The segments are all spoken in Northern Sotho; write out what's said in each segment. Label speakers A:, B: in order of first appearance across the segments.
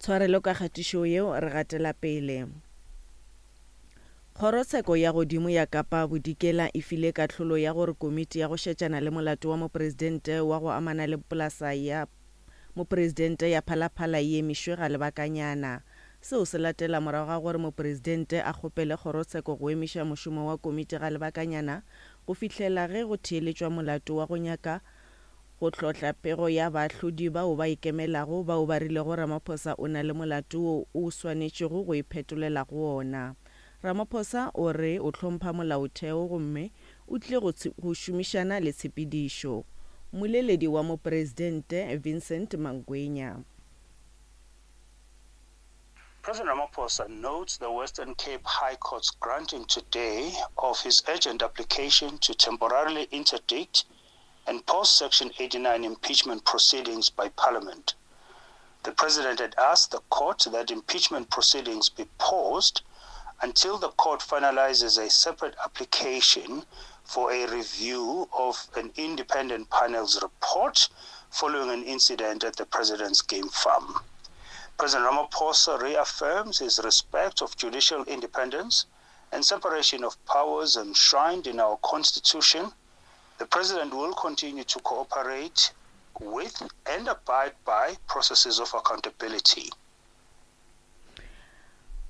A: Tshwarelo ka kgatišo yeo, re gatela pele. Kgorotsheko ya Godimo ya Kapa Bodikela e file kahlolo ya gore komiti ya go šetšana le molato wa mopresidente wa go amana le polasa ya mopresidente ya Phalaphala e emišwe ga lebakanyana. Seo se latela morago ga gore mopresidente a kgopele kgorotsheko go emiša mošomo wa komiti ga lebakanyana go fihlela ge go theeletšwa molato wa go nyaka go hlohla pego ya baahlodi bao ba ikemelago bao ba rilego Ramaphosa o na le molato wo o swanetšego go iphetolela go ona. Ramaphosa o re o hlompha molaotheo gomme o tlile go go šomišana le tshepedišo. Mmoleledi wa Mopresidente Vincent Mangwenya.
B: President Ramaphosa notes the Western Cape High Court's granting today of his urgent application to temporarily interdict and pause Section 89 impeachment proceedings by Parliament. The president had asked the court that impeachment proceedings be paused until the court finalizes a separate application for a review of an independent panel's report following an incident at the president's game farm. President Ramaphosa reaffirms his respect of judicial independence and separation of powers enshrined in our constitution. The president will continue to cooperate with and abide by processes of accountability.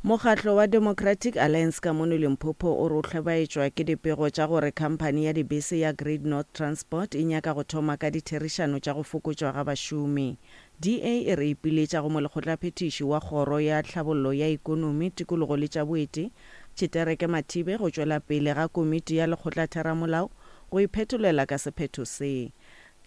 A: Mokgatlo wa Democratic Alliance ka mono Limpopo o re o hlobaetšwa ke dipego tša gore khamphani ya dibese ya Great North Transport e nyaka go thoma ka ditherišano tša go fokotšwa ga bašomi. DA e re ipiletša go Molekgotlaphethiši wa Kgoro ya Tlhabollo ya Ekonomi, Tikologo le tša Boeti, Tshitereke Mathibe go tšwela pele ga komiti ya lekgotlatheramolao go iphetolela ka sephetho se.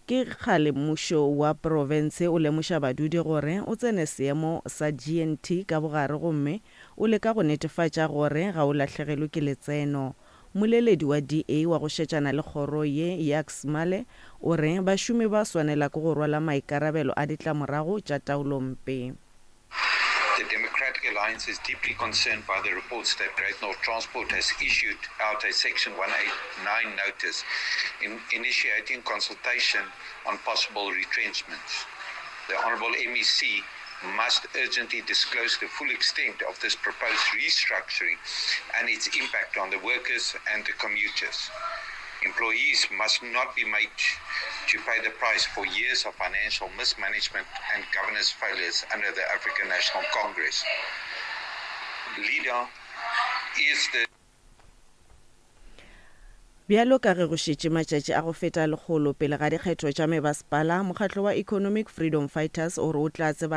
A: Ke kgale mmušo wa profense o lemoša badudi gore o tsene seemo sa GNT ka bogare gomme o leka go netefatša gore ga o lahlegelwe ke letseno. Mmoleledi wa DA wa go šetšana le kgoro ye, Jacques Male, o re bašomi ba swanela ke go rwala maikarabelo a ditlamorago tša taolompe.
C: The Democratic Alliance is deeply concerned by the reports that Great North Transport has issued out a Section 189 notice in initiating consultation on possible retrenchments. The Honourable MEC must urgently disclose the full extent of this proposed restructuring and its impact on the workers and the commuters. Employees must not be made to pay the price for years of financial mismanagement and governance failures under the African National Congress. Leader is the
A: Bjalo ka ge go šetše matšatši a go feta lekgolo pele ga dikgetho tša mebasepala, mokgatlo wa Economic Freedom Fighters o re o tla tsebagatša.